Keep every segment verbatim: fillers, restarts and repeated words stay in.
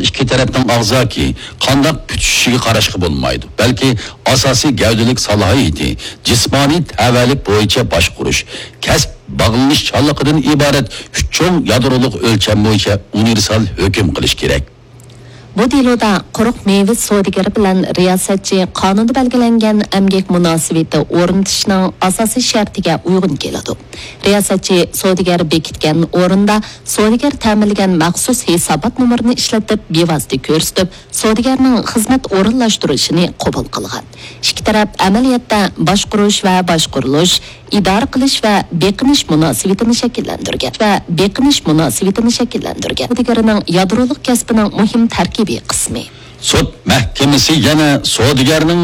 ئىككى تەرەپنىڭ ئاغزاكى قانداق پۈتۈشۈشىگە قاراشقا بولمايدۇ، بەلكى ئاساسىي گەۋدىلىك سالاھىيىتى، جىسمانىي تەۋەلىك بويىچە باشقۇرۇش، كەسىپ باغلىنىشچانلىقىدىن ئىبارەت ئۈچ چوڭ يادرولۇق ئۆلچەم بويىچە ئۇنىۋېرسال ھۆكۈم قىلىش كېرەك. بۇ دېلودا قۇرۇق مېۋە سودىگىرى بىلەن رىياسەتچى قانۇندا بەلگىلەنگەن ئەمگەك مۇناسىۋىتى ئورنىتىشنىڭ ئاساسىي شەرتىگە ئۇيغۇن كېلىدۇ. رىياسەتچى سودىگەر بېكىتكەن ئورۇندا سودىگەر تەمىنلىگەن مەخسۇس ھېسابات نومۇرىنى ئىشلىتىپ، بىۋاسىتە كۆرسىتىپ، سودىگەرنىڭ خىزمەت ئورۇنلاشتۇرۇشىنى قوبۇل قىلغان. ئىككى تەرەپ ئەمەلىيەتتە باشقۇرۇش ۋە باشقۇرۇلۇش، ئىدارە قىلىش ۋە بېقىنىش مۇناسىۋىتىنى شەكىللەندۈرگەن ۋە بېقىنىش مۇناسىۋىتىنى شەكىللەندۈرگەن. سودىگەرنىڭ يادرولۇق كەسپىنىڭ مۇھىم تەركىبىي قىسمى. سوت مەھكىمىسى يەنە سودىگەرنىڭ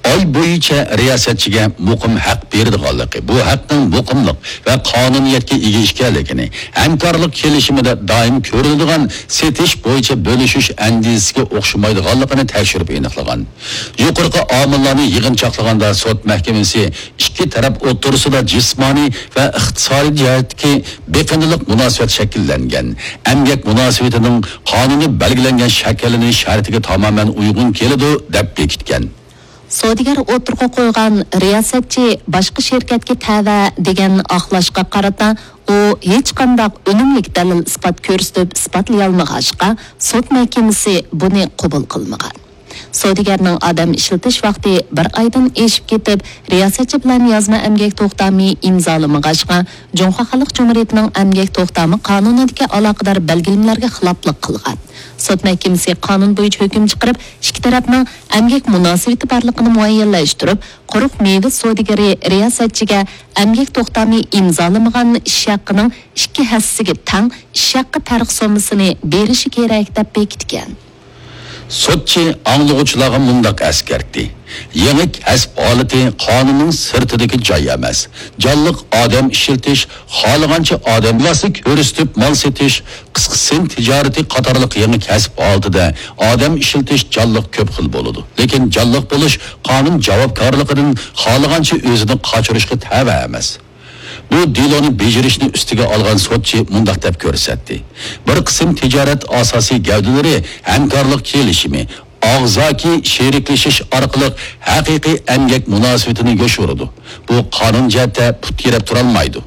ئاي بويىچە رىياسەتچىگە مۇقىم ھەق بېرىدىغانلىقى، بۇ ھەقنىڭ مۇقىملىق ۋە قانۇنىيەتكە ئىگە ئىكەنلىكىنى، ھەمكارلىق كېلىشىمىدە دائىم كۆرۈلىدىغان سېتىش بويىچە بۆلۈشۈش ئەندىزىسىگە ئوخشىمايدىغانلىقىنى تەكشۈرۈپ ئېنىقلىغان. يۇقىرىقى ئامىللارنى يىغىنچاقلىغاندا، سوت مەھكىمىسى ئىككى تەرەپ ئوتتۇرىسىدا جىسمانىي ۋە ئىقتىسادىي جەھەتتىكى بېقىندىلىق مۇناسىۋەت شەكىللەنگەن، ئەمگەك مۇناسىۋىتىنىڭ قانۇندا بەلگىلەنگەن شەكىللىنىش شەرتىگە تامامەن ئۇيغۇن كېلىدۇ، دەپ بېكىتكەن. سودىگەر ئوتتۇرىغا قويغان رىياسەتچى باشقا شىركەتكە تەۋە دېگەن ئاقلاشقا قارىتا، ئۇ ھېچقانداق ئۈنۈملۈك دەلىل-ئىسپات كۆرسىتىپ ئىسپاتلىيالمىغاچقا، سوت مەھكىمىسى بۇنى قوبۇل قىلمىغان. سودىگەرنىڭ ئادەم ئىشلىتىش ۋاقتى بىر ئايدىن ئېشىپ كېتىپ، رىياسەتچى بىلەن يازما ئەمگەك توختامى ئىمزالىمىغاچقا، جۇڭخۇا خەلق جۇمھۇرىيىتىنىڭ ئەمگەك توختامى قانۇنىدىكى ئالاقىدار بەلگىلىمىلەرگە خىلاپلىق قىلغان. سوت مەھكىمىسى قانۇن بويىچە ھۆكۈم چىقىرىپ، ئىككى تەرەپنىڭ ئەمگەك مۇناسىۋىتى بارلىقىنى مۇئەييەنلەشتۈرۈپ، قۇرۇق مېۋە سودىگىرى رىياسەتچىگە ئەمگەك توختامى ئىمزالىمىغان ئىش ھەققىنىڭ ئىككى ھەسسىسىگە تەڭ ئىش ھەققى تارىخ سوممىسىنى بېرىشى كېرەك، دەپ بېكىتكەن. سوتچى ئاڭلىغۇچىلارغا مۇنداق ئەسكەرتتى: يېڭى كەسىپ ھالىتى قانۇننىڭ سىرتىدىكى جاي ئەمەس. جانلىق ئادەم ئىشلىتىش، خالىغانچە ئادەم بىۋاسىتە كۆرسىتىپ مال سېتىش، قىسقا سىن تىجارىتى قاتارلىق يېڭى كەسىپ ھالىتىدە ئادەم ئىشلىتىش جانلىق كۆپ خىل بولىدۇ. لېكىن جانلىق بولۇش قانۇن جاۋابكارلىقىدىن خالىغانچە ئۆزىنى قاچۇرۇشقا تەۋە ئەمەس. بۇ دېلونى بېجىرىشنى ئۈستىگە ئالغان سوتچى مۇنداق دەپ كۆرسەتتى: بىر قىسىم تىجارەت ئاساسىي گەۋدىلىرى ھەمكارلىق كېلىشىمى، ئاغزاكى شېرىكلىشىش ئارقىلىق ھەقىقىي ئەمگەك مۇناسىۋىتىنى يوشۇرىدۇ. بۇ قانۇن جەھەتتە پۇت تىرەپ تۇرالمايدۇ.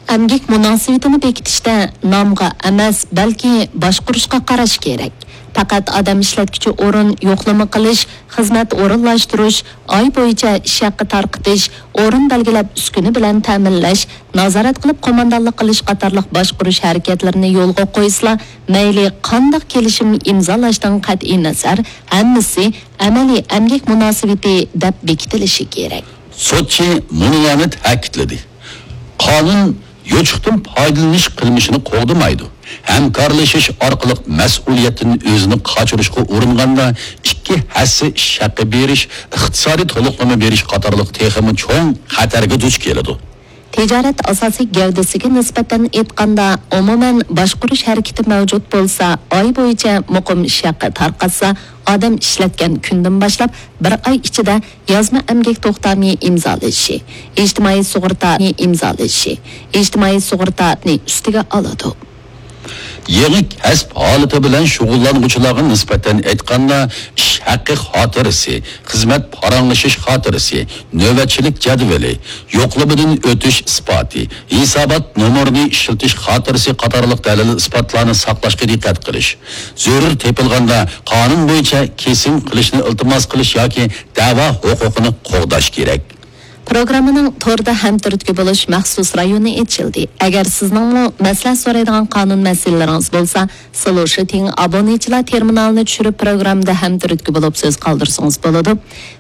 ئەمگەك مۇناسىۋىتىنى بېكىتىشتە نامغا ئەمەس، بەلكى باشقۇرۇشقا قاراش كېرەك. پەقەت ئادەم ئىشلەتكۈچى ئورۇن يوقلىما قىلىش، خىزمەت ئورۇنلاشتۇرۇش، ئاي بويىچە ئىش ھەققى تارقىتىش، ئورۇن بەلگىلەپ ئۈسكۈنە بىلەن تەمىنلەش، نازارەت قىلىپ قوماندانلىق قىلىش قاتارلىق باشقۇرۇش ھەرىكەتلىرىنى يولغا قويسىلا، مەيلى قانداق كېلىشىم ئىمزالاشتىن قەتئىينەزەر، ھەممىسى ئەمەلىي ئەمگەك مۇناسىۋىتى دەپ بېكىتىلىشى كېرەك. سوتچى مۇنۇلارنى تەكىتلىدى: قانۇن يوچۇقتىن پايدىلىنىش قىلمىشىنى قوغدىمايدۇ. ھەمكارلىشىش ئارقىلىق مەسئۇلىيەتتىن ئۆزىنى قاچۇرۇشقا ئۇرۇنغاندا، ئىككى ھەسسە ئىش ھەققى بېرىش، ئىقتىسادىي تولۇقلىما بېرىش قاتارلىق تېخىمۇ چوڭ خەتەرگە دۇچ كېلىدۇ. تىجارەت ئاساسىي گەۋدىسىگە نىسبەتەن ئېيتقاندا، ئومۇمەن باشقۇرۇش ھەرىكىتى مەۋجۇت بولسا، ئاي بويىچە مۇقىم ئىش ھەققى تارقاتسا، ئادەم ئىشلەتكەن كۈندىن باشلاپ بىر ئاي ئىچىدە يازما ئەمگەك توختامى ئىمزالىشى، ئىجتىمائىي سۇغۇرتانى ئىمزالىشى، ئىجتىمائىي سۇغۇرتانى ئۈستىگە ئالىدۇ. يېڭى كەسىپ ھالىتى بىلەن شۇغۇللانغۇچىلارغا نىسبەتەن ئېيتقاندا، ئىش ھەققى خاتىرىسى، خىزمەت پاراڭلىشىش خاتىرىسى، نۆۋەتچىلىك جەدۋىلى، يوقلىمىدىن ئۆتۈش ئىسپاتى، ھېسابات نومۇرىنى ئىشلىتىش خاتىرىسى قاتارلىق دەلىل-ئىسپاتلارنى ساقلاشقا دىققەت قىلىش. زۆرۈر تېپىلغاندا، قانۇن بويىچە كېسىم قىلىشنى ئىلتىماس قىلىش ياكى دەۋا ھوقۇقىنى قوغداش كېرەك. پروگراممىنىڭ توردا ھەمتۈرتكە بولۇش مەخسۇس رايونى ئېچىلدى. ئەگەر سىزنىڭمۇ مەسلىھەت سورايدىغان قانۇن مەسىلىلىرىڭىز بولسا، سلوشىتىڭ ئابۇنىچىلار تېرمىنالىنى چۈشۈرۈپ، پروگراممىدا ھەمتۈرتكە بولۇپ سۆز قالدۇرسىڭىز بولىدۇ.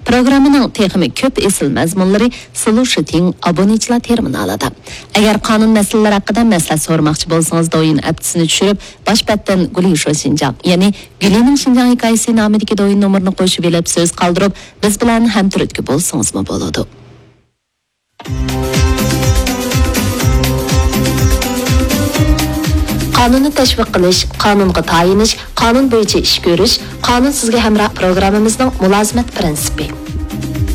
پروگراممىنىڭ تېخىمۇ كۆپ ئېسىل مەزمۇنلىرى سلوشىتىڭ ئابۇنىچىلار تېرمىنالىدا. ئەگەر قانۇن مەسىلىلىرى ھەققىدە مەسلىھەت سورىماقچى بولسىڭىز، دويىن ئەپتىسىنى چۈشۈرۈپ، باش بەتتىن گۇلىشو شىنجاڭ، يەنى گۈلىنىڭ شىنجاڭ ھېكايىسى نامىدىكى دويىن نومۇرىنى قوشۇۋېلىپ سۆز قالدۇرۇپ، بىز بىلەن ھەمتۈرتكە بولسىڭىزمۇ بولىدۇ. قانۇننى تەشۋىق قىلىش، قانۇنغا تايىنىش، قانۇن بويىچە ئىش كۆرۈش، قانۇن سىزگە ھەمراھ پروگراممىمىزنىڭ مۇلازىمەت پىرىنسىپى.